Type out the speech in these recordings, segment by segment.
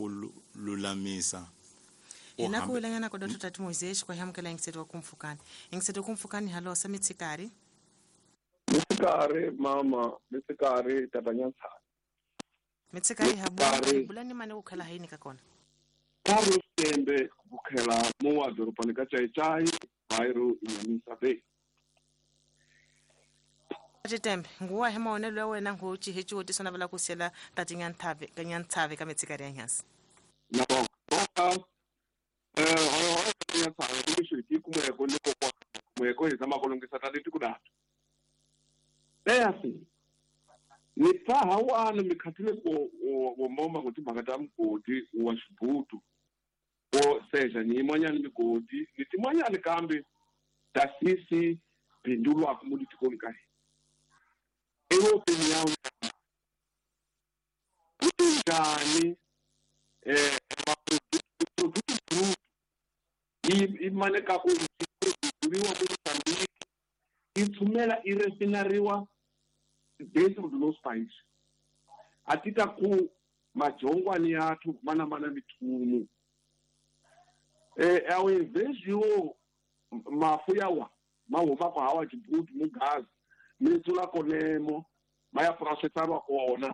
ku lulamisa. Hina ku wilanyana ko Dr. Tati Moises kwa hamukela yingiseto wa kumfukani. Yingiseto kumfukani halo sa mitsikari. Mitsikari mama, mitsikari tata Nyantshavi. Mitsikari habu bulani mane kukhela haini ka kona. Carlos Tembe kukhela mowa dorobhani ka Chaichai, bairro Inyamisa Bay. Tembe, nguwa he maonelo ya wena ngo chihechi wotiso na vala ku sela tati Nyantshavi ka Nyantshavi ka mitsikari ya Nyansi. Na ka Nyantshavi ku xi ti kumeko ni kokwa kumeko hi zama ku lunghisa ta leti ku data. Leya ni pfa hawana mikhathile ku wo moma ku timhaka ta mugodi wa xibutu wo seja ni yin'wanyana migodi ni tin'wanyana kambe ta sisi bindulwaka mo ditikweni ka hina. Ewu opinion njhani produto i mane ka ku produciwa ku Mozambique i tshumela i refinariwa dentro do nosso país. Atita ku majongwani yathu mana mana mithumu. Ao invés de o mafu yawa mahuma kwa hawa Djibouti mugazi mitsula konemo maya processarwa kona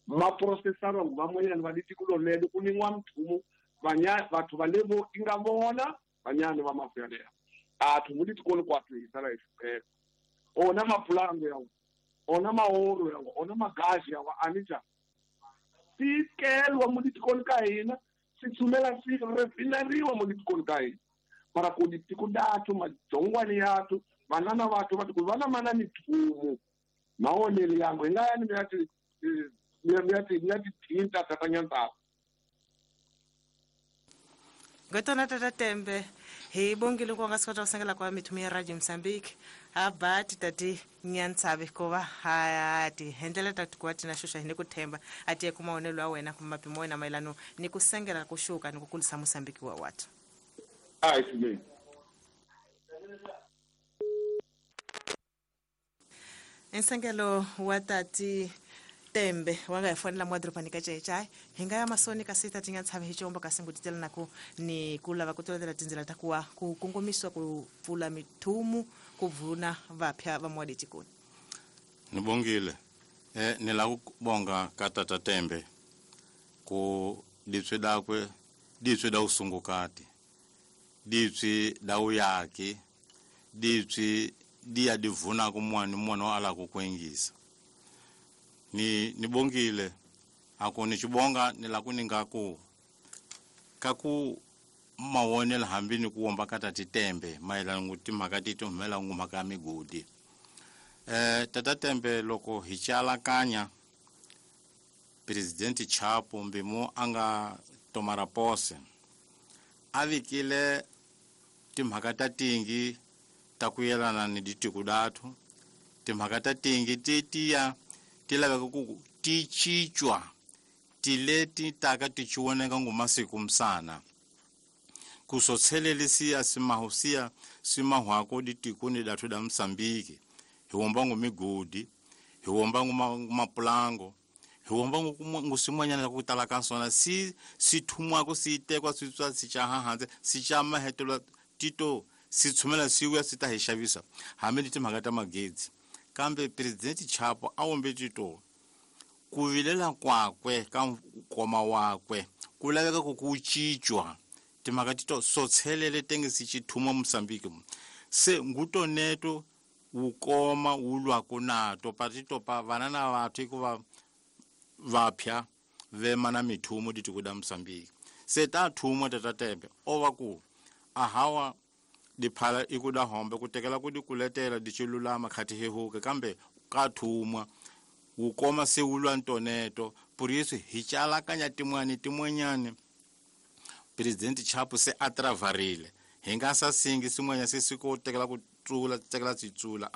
ma processarwa nguvamwenyani va litiko lelo ku ningwa mthumu vanya vathu va levo inga vona vanyani va mafu yaleyo athu mu litiko kwathu hisala ihlupheka ona mapulango yawo ona maoro yawo ona magazi yawo anija sikelwa mu litiko ka hina sithumela si refinariwa mu litiko ka hina para ku litiko dathu majongwani yathu vanana vathu va ku vana mana mithumu maonelo yangu hi nga yani mi ya ti thinta tata Nyantshavi. Ngotona tata Tembe hi bongile ku nga sikota ku sengela kwa mithumu ya Radio Mozambique a ba tati Nyantshavi ko va ha ti hendlela tati ku tina xuxa hi ni ku themba a tiye ku maonelo ya wena kumbe mapimo wena mayelano ni ku sengela ku xuka ni ku kulisa Mozambique wa watu. A hi swinene. Nsengelo wa tati Tembe wa nga hi fonela mo dorobani ka Chaichai hi nga ya masoni kasi tati Nyantshavi hi xihombo kasi ngutitela na ku ni ku lava ku tolovela tindzela ta kuwa ku kongomisiwa ku pfula mithumu ku pfuna vapya va mowa letikoni. Ni bongile ni lava ku bonga ka tata Tembe ku ditswe dakwe ditswe da usungukati ditswe da uyaki ditswe di ya divuna ku mwana mwana wa ala ku kwengisa. Ni nibongile ako ni chibonga ni la kuninga ku kaku mawonela hambi ni kuomba kata Tembe maelana nguti makati tumela ngumaka migodi tata Tembe loko hichala kanya President Chapo mbimo anga tomara pose avikile timhaka tingi takuyelana ni ditiku datu timhaka tingi tetiya tilaveka ku ti chichwa tileti taka tichiwoneka ngumasiku msana kusothelelisia simahusia simahwako ditikuni datu da Msambiki hiwomba ngumigodi hiwomba ngumapulango hiwomba ngusimwanyana kutala kansona si sithumwako sitekwa sitswa sichahahanze sichamahetelwa tito sithumela siuya sitahishavisa hambi ni timhaka ta magezi kambe President Chapo awombe tito kuvilela kwakwe ka nkoma wakwe kulaveka ku kuchichwa timhaka tito sothelele tenge sichithuma Mozambique se ngutoneto wukoma wulwako nato patito pa vanana vathu ikuva vapya vema na mithumo ditiko da Mozambique se ta thumwa tata Tembe ova ku ahawa diphala ikuda hombe kutekela ku dikuletela dichilulama khati hehuke kambe ka thumwa wukoma se wulwa ntoneto por isso hichalakanya timwani timwanyani President Chapo se atravarile hi nga sa singi sin'wanya se siko tekela ku tsula tekela tsitsula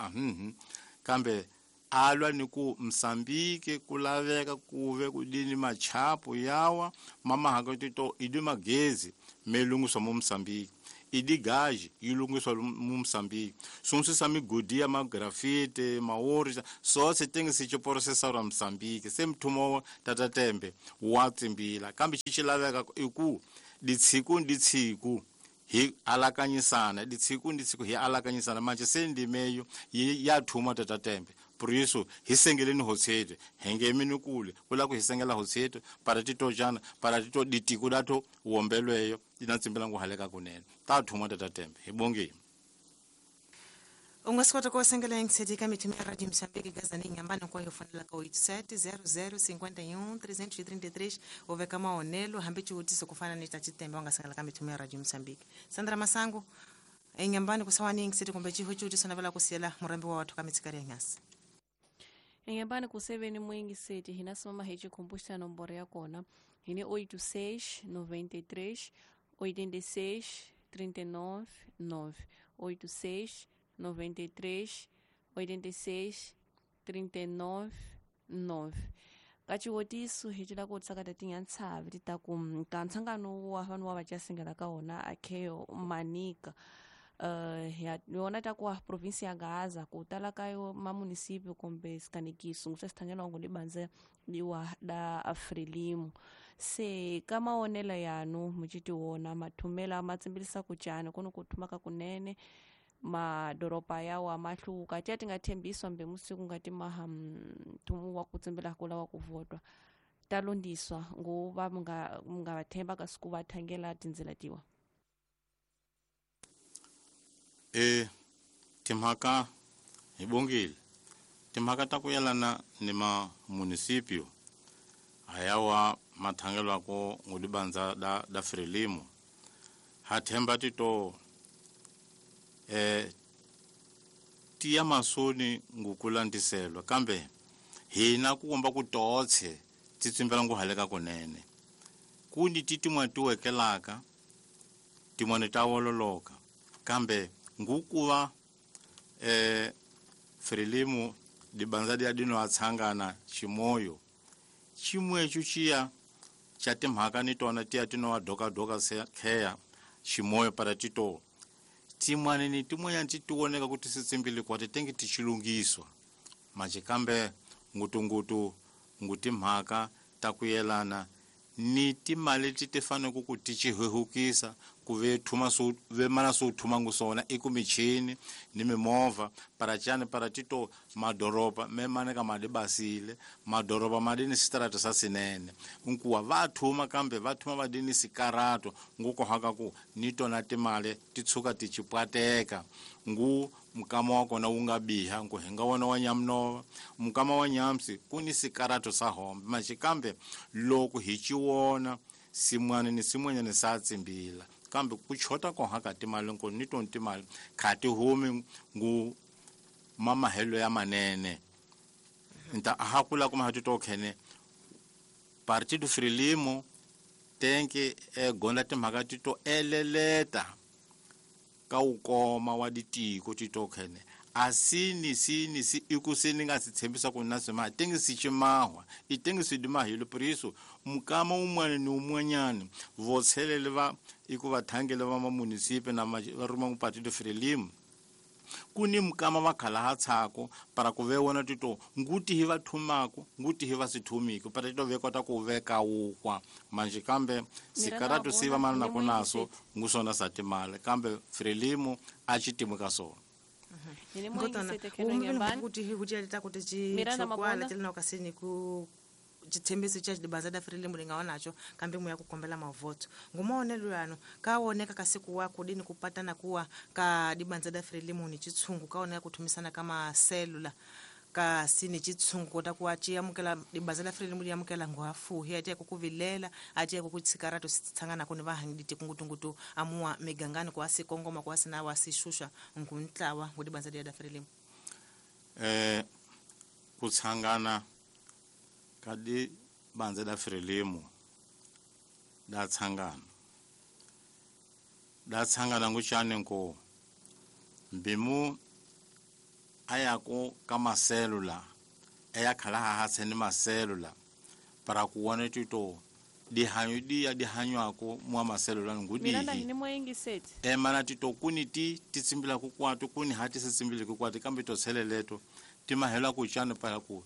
kambe alwa ni ku Mozambique ku laveka kuve ku dini machapo yawa mama hakatito idi magezi melungu swa mo Mozambique I digaji yi lungiswa mu Mosambiki swin'wana migodi ya magrafite maori sose tenge si chiporosesarwa Mosambiki se mthumo Tata Tembe wa tsimbila kambe xi laveka i ku ditshiku ni ditshiku hi alakanyisana ditshiku ni ditshiku hi alakanyisana manje se ndimeyo ya thuma Tata Tembe por isso hi sengeleni hotsete hengemini kule kula ku hi sengela hotsete para titojana para tito ditiko dato wombelweyo ina tsimbela nguhaleka kunene ta thuma Tata Tembe hi bongeni. U nga swi kota ku sengela yingiseti ka mithumo ya Radio Mosambiki gazani nyambani hinkwayo fonela ka 87 00 51 333 u veka mahonelo hambi xivutiso ku fana ni ta Chitembe u nga sengela ka mithumo ya Radio Mosambiki. Sandra Masango enyambani kusawani yingiseti kumbe xiho xivutiso navela ku siyela murhambi wa wathu ka mitsikari ya nyasi. Enyambani kuseveni mwingiseti hina simama hi chikhumbuxa nomboro ya kona hini 86 93 86 39 9 86 93 86 39 9 kachiwotiso hi cila ku tsakata tinyantshavi ti ta ku ka nhlangano wa vanhu wa vachasingela ka wona akheo manika yona ta ku provinsi ya Gaza ku tala ka yo mamunisipio kumbe sikanekiso nguse sithangela ngo libanze liwa da Frelimo se ka maonelo yanu muchiti wona mathumela matsimbilisa ku cana kuno ku thumaka kunene madoropa yawo amahluka tiya tingathembiswa mbe musiku ngati maha mthumu wa kutsimbela kula wa kuvotwa talondiswa nguva mungavathemba kasiku vathangela tindzela tiwa. Timhaka hi bongile timhaka ta ku yelana ni mamunisipio hayawa mathangelwako ngulibanza da Frelimo ha themba tito tiya masoni ngukulandiselwa kambe hina ku komba ku totshe ti tsimbela nguhaleka kunene kundi ti tin'wana ti wekelaka tin'wana ta wololoka kambe ngukuva Frelimo dibanza dia dino atshangana ximoyo ximwechu xiya xa timhaka ni tona tiya tino wa dokadoka kheya ximoyo para tito tin'wana ni tin'wanyana ti tioneka ku ti sitsimbile kwa ti tenge ti xilungiswa manje kambe ngutungutu ngu timhaka ta ku yelana ni timali leti ti fanele ku ti xihehukisa ku ve thuma so ve mana so thuma ngu swona i ku michini ni mimovha para cani para tito madoroba me mane ka madi basile madoroba madi ni sitarata sa sinene nkuwa va thuma kambe va thuma va di ni sikarato ngu kohaka ku ni tona timali ti tshuka ti chipwateka ngu mukama wa kona wu nga biha nku hi nga wona wa nyamnova mukama wa nyamsi ku ni sikarato sa hombe manje kambe loko hi xiwona sin'wana ni sin'wanyana sa tsimbila kambe ku chota koha ka timali nko ni tona timali kha ti humi ngu mamahelo ya manene nta aha kula kuma ha tito khene Partido Frelimo tenke gonda timhaka tito eleleta ka ukoma wa ditiko tito khene asini sini si ikusini nga sithembisa ku na sima tenge si chimahwa itenge si dimahilo por isso mukama umwana ni umwanyana votshelele va ikuva thangele va mamunisipe na va ruma ku Partido Frelimo kuni mukama va khala ha tshako para ku ve wona tito nguti hi va thumako nguti hi va sithumiko para tito ve kota ku veka wukwa manje kambe sikaratu siva mana na kunaso ngusona sa timali kambe Frelimo a xitimu ka sona. Kuti huti kuti chikwala chilina kasini ku chithembiso cha dibanza da Frelimo linga nacho kambe muya kukombela mavoto ngumaonelo yano kaoneka kasiku wa kudini kupatana kuwa ka dibanza da Frelimo ni chitsungu kaoneka kuthumisana kama selula kasi ni chitsungu kota kuwa chiyamukela dibanza da Frelimo liyamukela ngwafuhi atiya kukuvilela atiya kukutsikarato sitsangana kuni vahangiditi kungutungutu amuwa migangani kwa sikongoma kwa sina wasishusha nguntlawa ngudibanza da Frelimo kutsangana ka dibanza da Frelimo da tsangana nguchane nko mbimu ayako ka maselula eya khala ha hatshe ni maselula para ku wona tito Dihanyo diya dihanywako mwa maselula Miranda ngudihi hini moyengiseti emana tito kuni ti tsimbila ku kwatu kuni hati se tsimbile ku kwatu kambe to tsheleleto ti mahela ku chana para ku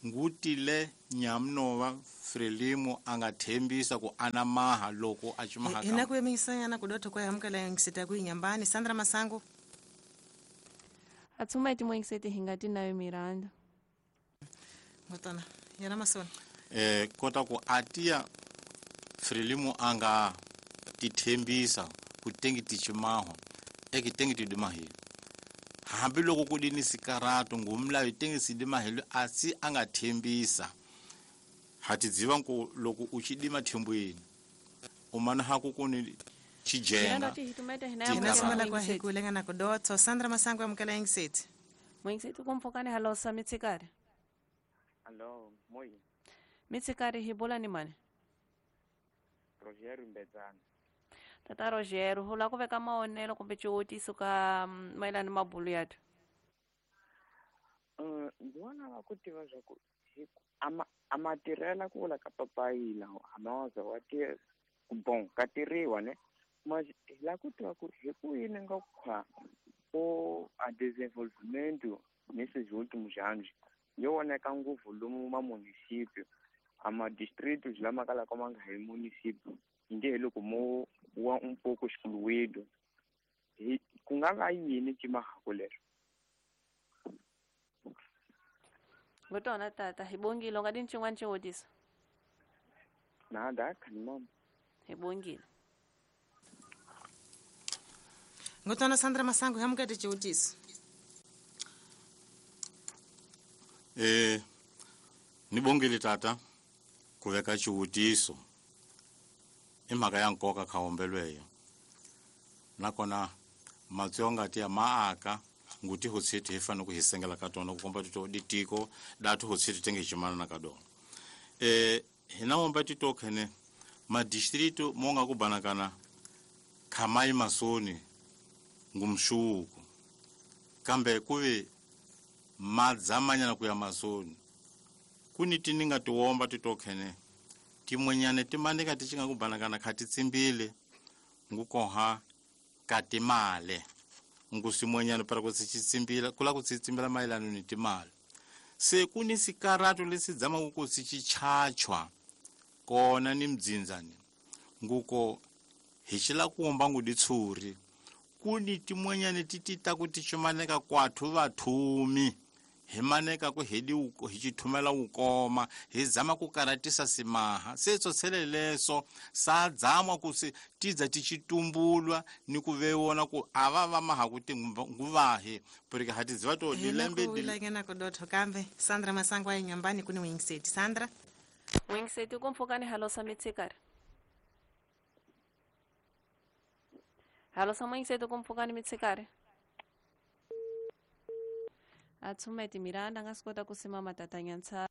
ngutile nyamnova Frelimo a nga thembisa ku ana maha loko a chimaha Hina ku yemisanyana kudotho kwa amukela yengiseti ya kuinyambani Sandra Masango. Atsumeti moyengiseti hingati nayo Miranda. Ngotana yena masona. Kota ku atia Frelimo a nga tithembisa ku tengi tichimaho ekitengi tidimahilo hambiloko ku dini sikarato ngumlayo tengi sidimahilo asi a nga thembisa hatidziva ku loko u chidima thembweni u mana haku kuni Miranda chijenga ti hitumete hina Ti Hina Tika simela kwa moyengiseti. hikulengana kudotho Sandra Masango amukela yengiseti. Moyengiseti kumfokane halosa mitsikari. Allo, moi, Mitsikari hibola ni mani. Rogério Mbedzana. Tata Rogério, hula ku veka maonelo kumbe xiwutiso ka mayelana ni mabulu yathu. Ndzi vona va ku tiva swa ku a ma tirhela ku vula ka papayi lawa a ma za wa tirha bon ka tirhiwa ne ma hi lava ku tiva ku hi ku yini nga khwa o a desenvolvimento nesses últimos anos yo voneka ngopfu lomu ma município a ma distritos lama kalaka ma nga hi município nge hi loko mo wa un pouco excluído hi ku nga va yini cimahako lero. Ngotona tata, hi bongile u nga dini xin'wana xiwutiso. Nada, khanimama. Hi bongile. Ngotana Sandra Masango amukela xiwutiso. Ni bongile tata ku veka xiwutiso i mhaka ya nkoka khaombelweyo nakona matsonga ti ya maaka nguti hotsiti hi fanele ku hi sengela ka tona ku komba tito ditiko datu hotsiti tenge hi chimana ka dona hina womba tito khene madistrito mo nga ku banakana khamai masoni ngumshuku kambe kuve madzamanyana ku ya masoni kuni tininga tiwomba titokhene timwenyane timanika tichinga kubanakana khati tsimbile ngukoha katimale ngusimwenyane para kutsichitsimbila kula kutsitsimbila mayelano ni timali se kuni sikarato lesidzama kuko sichichachwa kona ni mdzinzani nguko hichila kuomba nguditsuri kuni timwenyane titita kuti chimaneka kwathu vathumi himaneka ku hedi hichithumela ukoma hizama ku karatisa simaha setso tsheleleso sadzamwa kusi tidza tichitumbulwa ni ku vewona ku ava va maha kuti nguvahi porque hatiziva to Hina dilembe ku wilangana kudotho kambe Sandra Masango a inyambani kuni wengiseti Sandra. Moyengiseti kumfokane halosa mitsikari. Halosa moyengiseti kumfokane mitsikari. Atsumeti Miranda nga swi kota ku simama tata Nyantsha.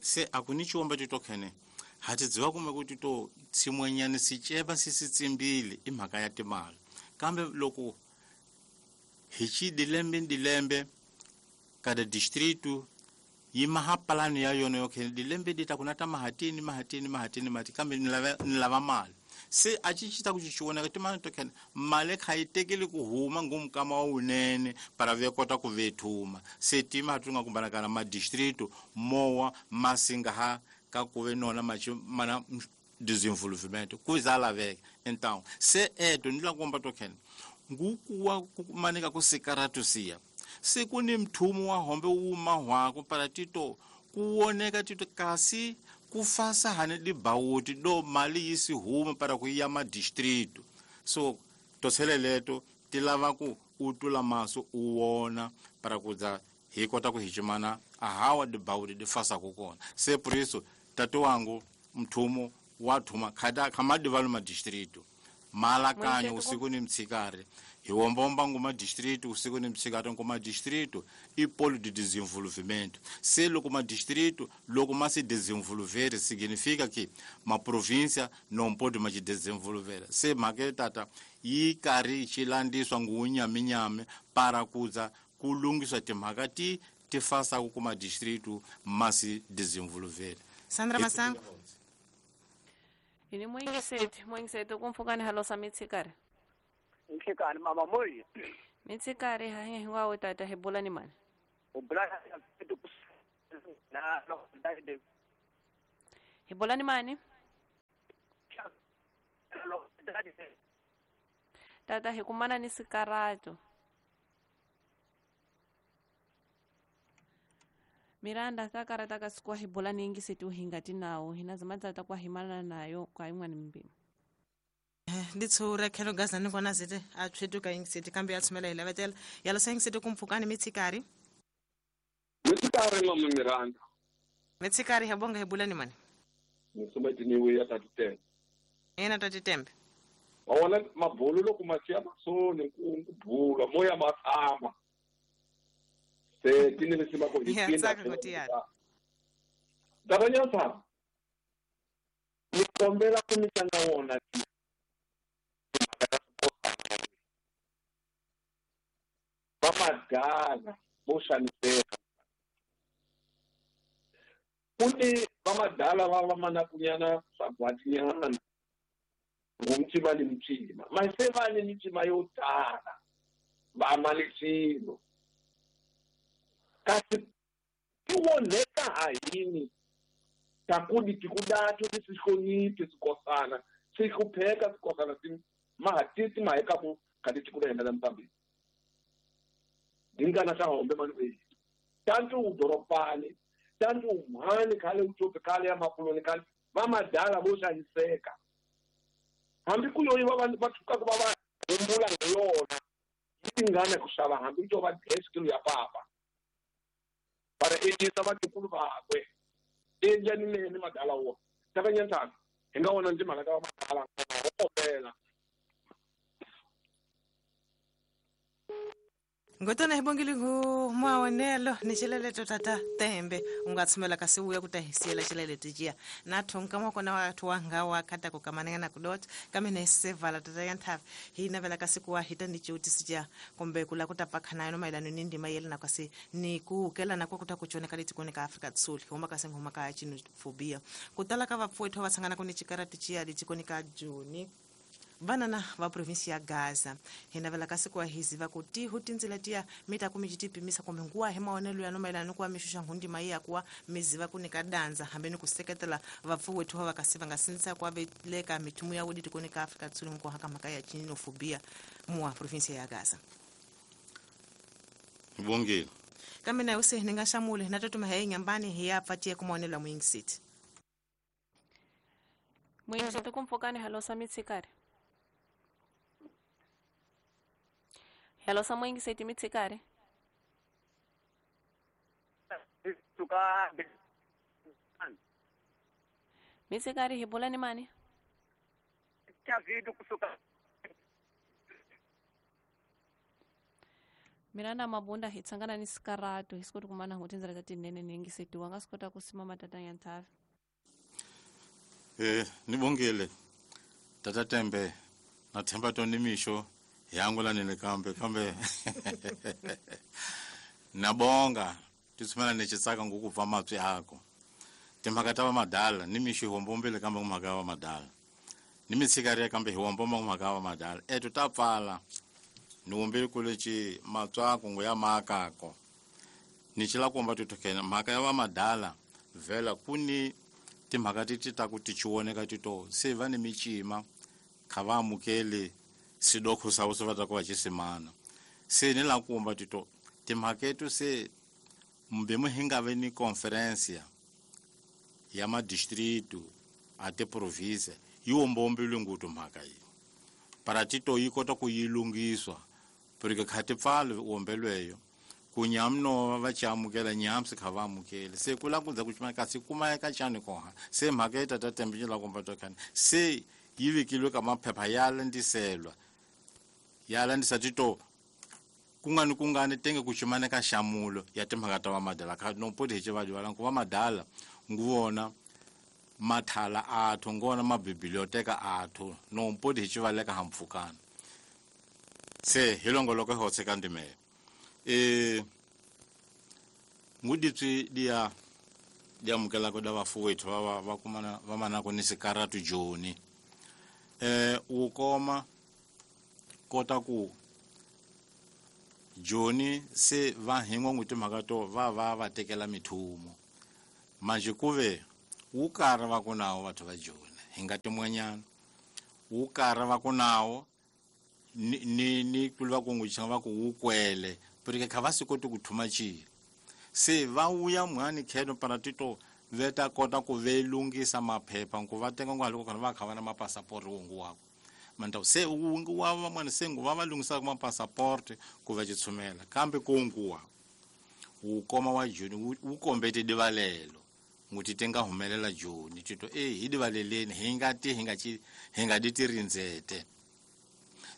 Se akuni chiwomba titokhene hatidziva kume kuti to tsimwenyani sicheva sisitsimbile i mhaka ya timali kambe loko hi chi dilembe dilembe kada distrito yi maha palani ya yona yo khene dilembe di ta kuna ta mahatini mahatini mahatini mahati kambe ni lava mali se a ci ci ta ku ci voneka timali to khene mali kha yi tekeli ku huma ngumkama wa wunene para ve kota ku vethuma se tima tu nga kumbanakana madistrito mowa masinga ha ka ku ve nona machi mana desenvolvimento ku za laveka então se eto ni la komba to khene ngukuwa kumanika ku sikaratu siya siku ni mthumu wa hombe wuma hwako para tito kuwoneka tito kasi kufasa hane dibawuti do mali yisi huma para ku ya madistrito so toseleleto ti lava ku u tula maso u wona para ku za hi kota ku hichimana ahawa dibawuti di fasaku kona se por isso tati wangu mthumu wa thuma khata khamadivalu madistrito malakanyo usiku ni mtsikari hi wombomba nguma distrito usiku ni mtsikari nguma distrito i polo de desenvolvimento se loko ma distrito loko ma se desenvolver significa que ma província não pode mais desenvolver se mhaka tata yi karhi xi landiswa ngunyaminyami para kuza ku lunghisa timhaka ti ti fasaku kuma distrito ma se desenvolver. Sandra Masango. Hini mwingiseti kumpfukani halosa mitsikari. Nhlekani mama moyi. Mitsikari hahe hinkwawo tata hi bula ni mani. U bula na hi bula ni mani? Tata hi kumana ni sikarato. Miranda takarata ka sikwa hi bula ni ingiseti uhingati nawo hina zimadza kwa himana nayo kwa imwani mbimi. Nditsura khelo gaza ni kona zite a tswetuka ingiseti kambe ya tshumela hi lavetela ya losa ingiseti kumpfukani mitsikari. Mitsikari mama Miranda. Mitsikari ha bonga hi bula ni mani. Nisometi ni ya tatitembe. Ena tatitembe. Wona mabulu loko masiya masoni ku bula moya matama. Se tine lesima ko hi tsaka ko tiyana. Dabanyata. Ni kombela ku mitanga wona ti. Vamadala vo xaniseka. Kuni vamadala va va manakunyana swagwatinyana. Ngumtima ni mtima. Mase va ni mitima yo tala. Va malisilo. Kasi tiwoneka hayini. Takudi tikudato tisihloniphe sikosana. Sihlupheka sikosana mahatisi maheka ku kati tikuda yena la Mozambique. Dingana ta hombe mani tantu udoropani tantu umhani khale utope khale ya makuloni khale vamadala vo xaniseka. Hambi ku yoyi va va thuka ku va va humbula hi yona yi tingana ku xava hambi to va kilo ya papa. Para endlisa vatukulu vakwe endla ni mene madala wo takanyantana hi nga wona ndzi mhaka ta vamadala ho kombela. Ngotona hi bongile ngu maonelo ni xileleto tata tembe u nga tshumela kasi uya ku ta hi siyela xileleto jiya na thonka makona wa thu wa nga wa khata ku kamananga na kudot kambe na sevala tata ya nthavi hi navela kasi ku wa hita ni cewutisi jiya kumbe ku la ku ta pakhana yona mayelana ni ndima yele na kasi ni ku kelana kwa ku ta ku coneka letikweni ka Afrika Dzonga huma kasi huma ka xenophobia ku tala ka vapfuwethu va tshangana ku ni xikarati ciya letikweni ka Joni vanana va provinsi ya Gaza hi navela kasi ku wa hiziva ku tihu tindzila tiya mi ta ku mi tipimisa kumbe nguwa hi maonelo ya no mayelana ni ku wa mi xuxa nghundima yi ya kuwa mi ziva ku nyika dandza hambi ni ku seketela vapfuwethu va kasi va nga sindzisa ku veleka mithumu ya wodi tikweni ka Afrika Dzonga ku haka mhaka ya xenophobia muwa provinsi ya Gaza. Bongile. Kambe na use ni nga xamule na totuma hi nyambani hi ya pfatiye ku maonelo ya muyingiseti. Muyingiseti kumpfukani halosa mitsikari. Hello, mwingiseti mitsikari. Mitsikari hi bula ni mani? Miranda mabunda hi tsangana ni sikarato hi sikoti kumana ngo tindzela ta tinene ni yingiseti wa nga swi kota ku simama tata ya nthavi. Ni bongile. Tata Tembe na themba to ni mixo yangu nile kambe kambe nabonga titsumela ni xitsaka ngukubva mapsi ako timhaka ta vamadala ni mixo hi hombombile kambe mhaka ya vamadala ni mitshikariya kambe hi hombomba mhaka ya vamadala eto ta pfala ni wombile kuleci matswako ngo ya maakako ni xila komba titokhena mhaka ya vamadala vhela kuni timhaka ti ta ku ti chiwoneka tito se va ni micima kha va amukeli sidokho sawo se va ta ku va xisimana se ni la kumba tito timhaketo se mbe hi nga ve ni conferência ya madistrito a tiprovinsia yi wombombile nguthu mhaka yi para tito yi kota ku yi lunghiswa porque kha ti pfali wombelweyo ku nyamno va ci amukela nyamsi kha va amukeli se ku la ku za ku cima kasi kuma eka xani koha se mhaka yi tata tembe yi la kumba to khani se yi vekilwe ka maphepha ya landziselwa ya landzisa tito kungani kungani tenge ku cimana ka xamulo ya timhaka ta vamadala kha no poti hi xivadiwala ku vamadala nguvona mathala athu ngona mabiblioteka athu no poti hi xivaleka hampfukana se hi longoloko hi hotseka ndimele nguditswi dia di amukelako da vafuwethu va kumana va manako ni sikaratu joni wu koma kota ku joni se va hingwa n'wi timhaka to va tekela mithumo manje kuve wu karhi va ku nawo batho va joni hi nga tin'wanyana wu karhi va ku nawo ni kulu va ku n'wi changa va ku wu kwele porque kha va swi koti ku thuma chilo se va wuya mhani kheno para tito veta kota ku ve lungisa maphepha ku va tenga ngwa loko khona va kha va na mapasaport wongu wako manta se wungu wa van'wana se nguva va lungisaka mapasaport ku va chitshumela kambe kunguwa wu koma wa joni wu kombete divalelo nguti tenga humelela joni tito hi divaleleni hi nga ti hi nga di tirindzete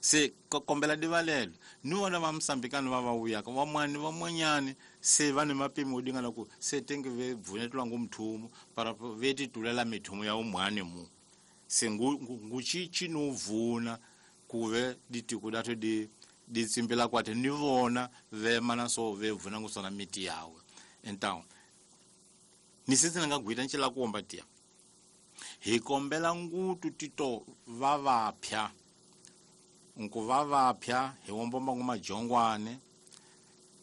se kombela divalelo ni vona va Mosambikani va vuyaka van'wani van'wanyani se va ni mapimo dingana ku se tenge ve bvunetwa ngu mthumo para ve titulela mithumo ya umhani mu se ngu chichi no vuna kuve ditiko dathu di tsimbela kwathe ni vona ve mana so ve vuna ngu sona miti yawe então ni sisi nga gwita ncela kuomba tia hi kombela ngutu tito va vapya nku va vapya hi wombomba ngu majongwane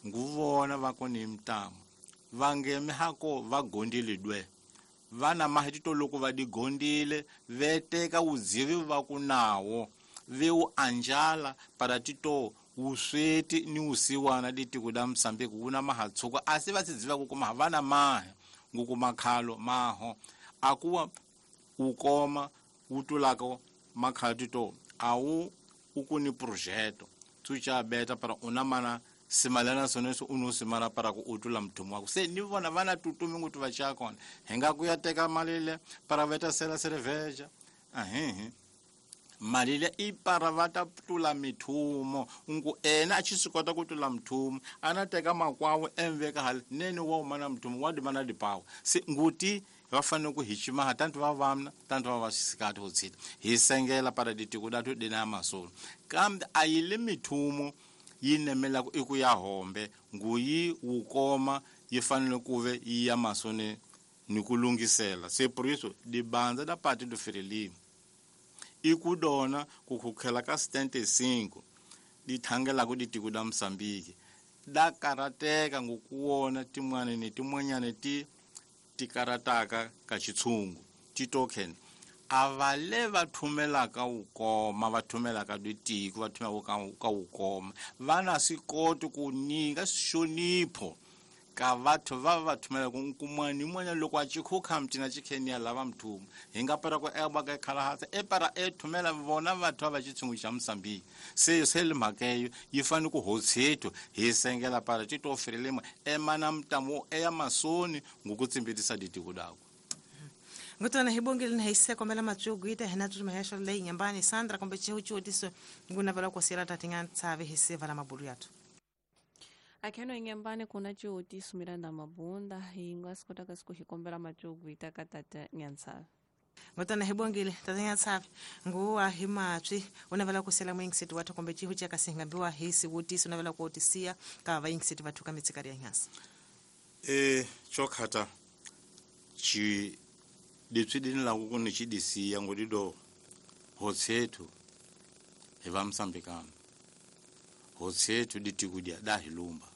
nguvona va koni mtamu vangeme hako va gondile dwe vana mahitito loko va digondile veteka uzivi va ku nawo ve u anjala para tito usweti ni usiwana ditiko da Mosambiki wuna mahatsuka asi va tsidziva ku kuma vana mahe nguku makhalo maho akuwa ukoma utulako makhalo tito awu ukuni projeto tucha beta para unamana simalana soneso unosimala para ku utula mthumo wako se ni vona vana tutumi ngutu va chakona hinga kuya teka malile para veta sela cerveja ahehe malile i para vata tula mithumo ngu ena a chisikota ku tula mthumo ana teka makwawo emveka hali nene wa umana mthumo wa dimana dipawo se nguti va fanele ku hi chimaha tantu va vamna tantu va vaxisikati ho tshita hi sengela para ditiko datu dina masolo kambe a yi le mithumo yi nemelaka i ku ya hombe nguyi wukoma yi fanele ku ve yi ya masoni ni ku lunghisela se por isso dibandza da Partido Frelimo i ku dona ku khukhela ka 75 di thangelaka ditiko da Mosambiki da karateka ngokuwona tin'wana ni tin'wanyana ti tikarataka ka xitshungu ti-token a va le va thumelaka wukoma va thumelaka ditiko va thumelaka ka wukoma va na swi koti ku nyika xonipho ka batho va va thumelaka nkumani n'wana loko a chikhukha mtina chikhenia lava mthumo hi nga para ku eba ka khalahatsa e para e thumela vona batho va xitshungu xa Mosambiki se se le mhaka yi fanele ku hotshethu hi sengela para tito Frelimo emana mtamo eya masoni ngokutsimbitisa ditiko dako ngutona hibongile ni haise kombela matsugu ita hina tutumehesha leyi nyambani Sandra kombe chihuchiutiso ngunavela kosela tatinga tsavi hisiva la mabulu yathu akheno inyambani kuna chiutiso Miranda Mabunda hinga sikotaka siku hikombela matsugu ita ka tata Nyantsave ngutona hibongile tata Nyantsave nguwa himatswi unavela kosela mwingiseti wathu kombe chihu chakasingambiwa hisi utiso unavela kuotisia ka vaingiseti vathu ka mitsikari ya nyasa chokhata chi ditswi la ku ni chidisiya ngodido hotshethu hi va Mosambikana hotshethu ditikudia da hilumba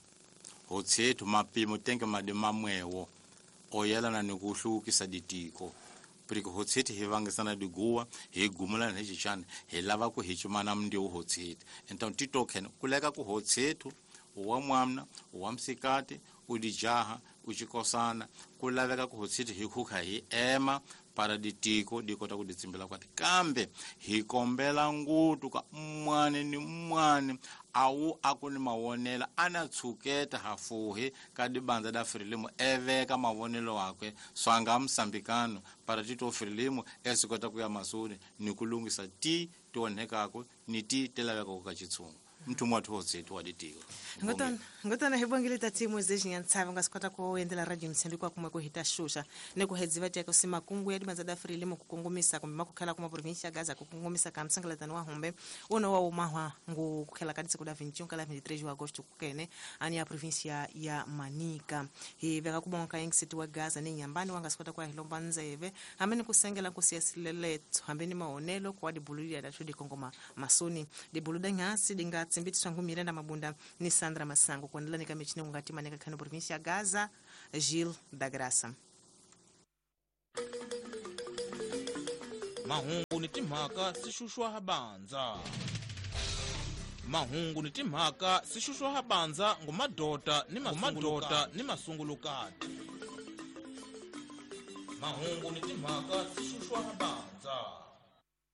hotshethu mapimo tenge madi mamwewo oyelana ni ku hluvukisa ditiko porque hotshethu hi vangisana diguwa hi gumulana hi xichana hi lava ku hi chumana mndiwu hotshethu então titoken kuleka ku hotshethu wa mwamna wa msikati udijaha uchikosana ku laveka ku hotshethu hi khukha hi ema para ditiko dikota ku ditsimbela kwati kambe hi kombela ngutu ka mwane ni mwane awu aku ni mavonelo ana tshuketa hafuhi ka dibandza da Frelimo eveka mavonelo wakwe swanga Mosambikano para tito Frelimo esikota ku ya masoni ni ku lunghisa ti tionhekako ni ti ti lavekako ka xitshungu Mtumu wathu wozetu waditiko. Ngotona hi bongile tati Moisés Nyantsava nga swi kota ku endlela radio Mozambique kwa kumwe ku hita xuxa ni ku hedziva teka si makungu ya dibanza da Frelimo ku kongomisa kumbe makukhela kuma provinsia ya Gaza ku kongomisa ka msangalatano wa humbe uno wa umahwa ngu kukhela ka disiku da 21 kala 23 de agosto kukene ani ya provinsia ya Manica. Hi veka ku bonga ka City wa Gaza ni Nyambani wa nga swi kota ku ya hi lomba ndzeve hambi ni ku sengela ku siya sileletso hambi ni maonelo ku wa dibulu ya dathu dikongoma masoni dibulu da nhasi dinga tsimbitswa ngu Miranda Mabunda ni Sandra Masango kuendelea nika michini ngati maneka khano província ya Gaza Gil da Graça. Mahungu ni timhaka sixuxwa habanza. Mahungu ni timhaka sixuxwa habanza ngumadota ni mamadota ni masungulukati. Mahungu ni timhaka sixuxwa habanza.